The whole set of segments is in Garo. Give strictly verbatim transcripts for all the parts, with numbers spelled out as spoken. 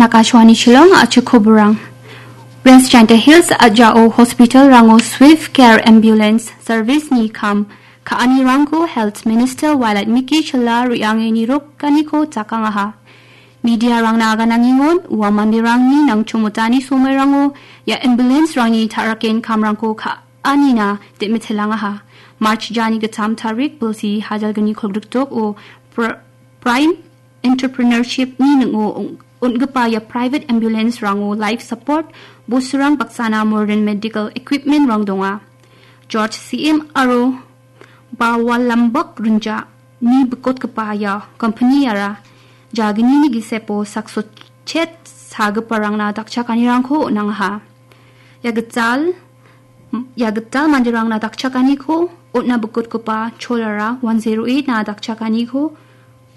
Akashvani Shillong, achik koborang. West Jaintia Hills ajao hospital-rango Swift Care Ambulance Service-ni kam ka·anirangko Health Minister Wailadmiki Shylla re·ange nirokaniko jakangaha. Media-rangna aganangengon, ua manderangni nangchomotani somoirango ia ambulance-rangni ta·raken kamrangko ka-, anina de·mitelangaha. March jani gittam tarik bilsi hajalgni kolgrikdok o pr-, Prime Entrepreneurship-ni ning·o on-, on·gipa ia private ambulance-rango life support, bosturang baksana modern medical equipment-rang donga. George C M aro Bawalambok Rinja ni bikotgipa ia company-ara jagnini gisepo saksochek sagiparangna dakchakanirangko on·angaha. Ia gital, ia gital manderangna dakchakaniko on·na bikotgipa cholara one zero eight-na dakchakaniko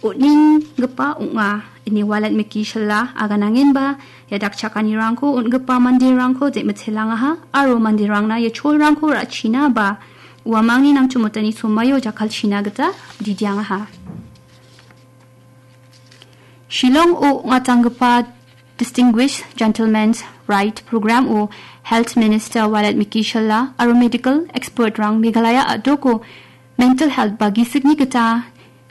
on·enggipa ong·a, ine Wailadmiki Shylla aganangenba, ia dakchakanirangko on·gipa manderangko de·mitelangaha, aro manderangna ia cholrangko ra·china ba uamangni nangchomotani somaio jakkalchina gita didiangaha. Shillong-o ong·atanggipa Distinguished Gentleman's Rite Program-o Health Minister Wailadmiki Shylla aro medical expert-rang Meghalaya a·doko mental health ba gisikni gita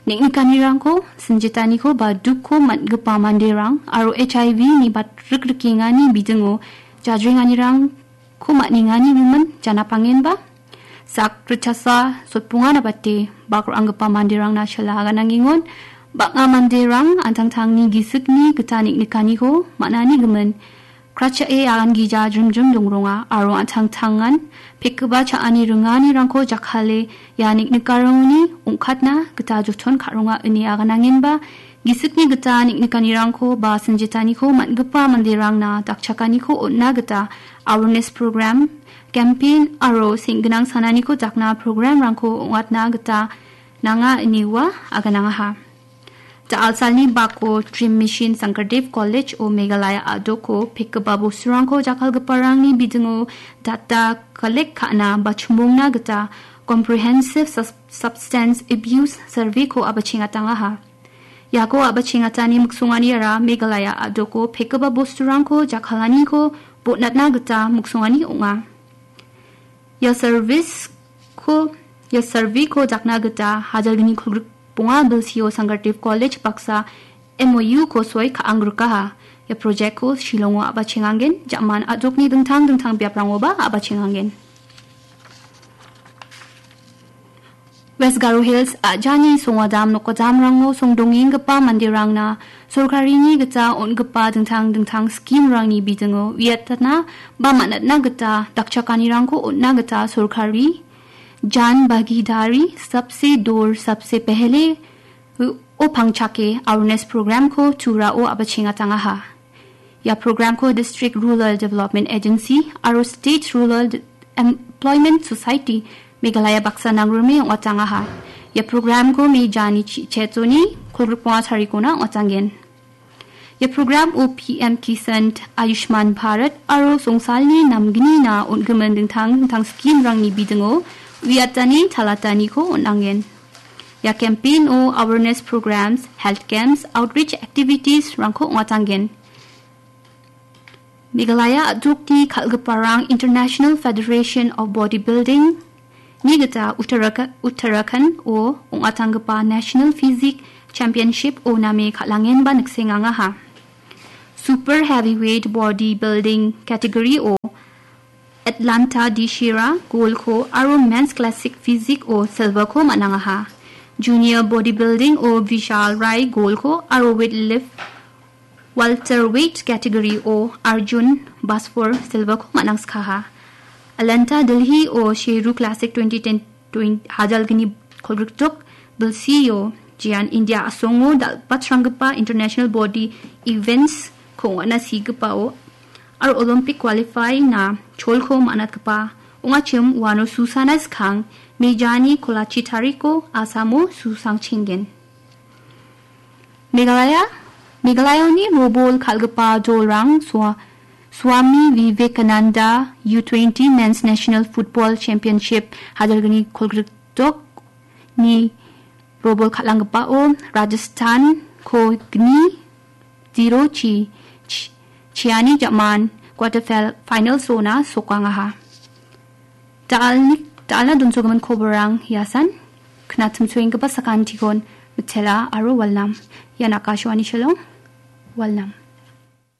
neng·nikanirangko, sinjitaniko ba dukko man·gipa manderang aro H I V-ni batrikrikkengani bidingo jajrenganirangko man·engani gimin janapangenba, sak ritchasa sotbonga nabate bak ra·anggipa manderangna shala aganangengon, bang·a manderang an·tangtangni gisikni gita neng·nikaniko man·ani gimin Krachae agan gija jrimjrim dongronga aro an·tangtangan pekgipa cha·ani ringanirangko jakkale ia neng·nikarangoni ong·katna gita joton ka·ronga ine aganangenba, gisikni gita neng·nikanirangko ba sinjitaniko man·gipa manderangna dakchakaniko on·na gita awareness program, campaign aro seng·ginang sananiko dakna programrangko ong·atna gita nanga ine ua aganangaha. Da·alsalni bako Dream Mission Sankardev College-o Meghalaya a·doko pekgipa bosturangko jakkalgiparangni bidingo data collect ka·na ba chimongna gita Comprehensive Sus-, Substance Abuse Survey-ko a·bachengatangaha. Iako a·bachengatani miksonganiara Meghalaya a·doko pekgipa bosturangko jakkalaniko botnatna gita miksongani ong·a. Ia service-ko, ia survey-ko dakna gita hajalgni kolgrik bonga bilsio Sankardev College baksa M O U-ko soi ka·angrikaha. Ia project-ko Shillong-o a·bachenganggen, jaman a·dokni dingtang dingtang biaprangoba a·bachenganggen. West Garo Hills a·jani songgadam nokgadamrango songdongenggipa manderangna sorkarini gita on·gipa dingtang dingtang scheme-rangni bidingo uiatna ba man·atna gita dakchakanirangko on·na gita sorkari Jan Bhagidari Sabse Dur Sabse Pehle o pangchake awareness program-ko Turao a·bachengatangaha. Ia program-ko District Rural Development Agency aro State Rural De-, Employment Society Meghalaya baksa nangrime ong·atangaha. Ia program-ko May jani chi-, chetoni kolgrikbonga tarikona ong·atanggen. Ia program-o P M Kisan, Ayushman Bharat aro songsalni namgnina on·gimin dingtang dingtang scheme-rangni bidingo uiatani talataniko on·angen. Ia campaign-o awareness programs, health camps, outreach activities-rangko ong·atanggen. Meghalaya a·dokni kal·giparang International Federation of Bodybuilding-ni gita Uttaraka-, Uttarakhand-o ong·atanggipa National Physique Championship-o name kal·angenba niksengangaha. Super Heavyweight Bodybuilding category-o Atlanta Dishira gold-ko aro Men's Classic Physique-o silver-ko man·angaha. Junior Bodybuilding-o Vishal Rai gold-ko aro Weight Lift Welterweight category-o Arjun Basfor silver-ko man·angskaha. Atlanta Delhi-o Sheru Classic twenty ten twen-, hajalgni kolgrikdok bilsio jean India a·songo dal·batranggipa international body events-ko ong·atna sigipao aro Olympic qualify-na cholko man·atgipa ong·achim uano susana skang May jani kolachi tariko Asamo susangchenggen. Meghalaya, Meghalayani robol kal·gipa dolrang Swa-, Swami Vivekananda U twenty Men's National Football Championship hajalgni kolgrikdokni robol kal·anggipao Rajasthan-ko gni zero chi Chi-, Chiani ja·man quarter fil-, final sona sokangaha. Dal-, dalna donsogimin koborang hiasan, knatim soenggipa sakantikon mitela aro walnam. Ian Akashvani Shillong, walnam.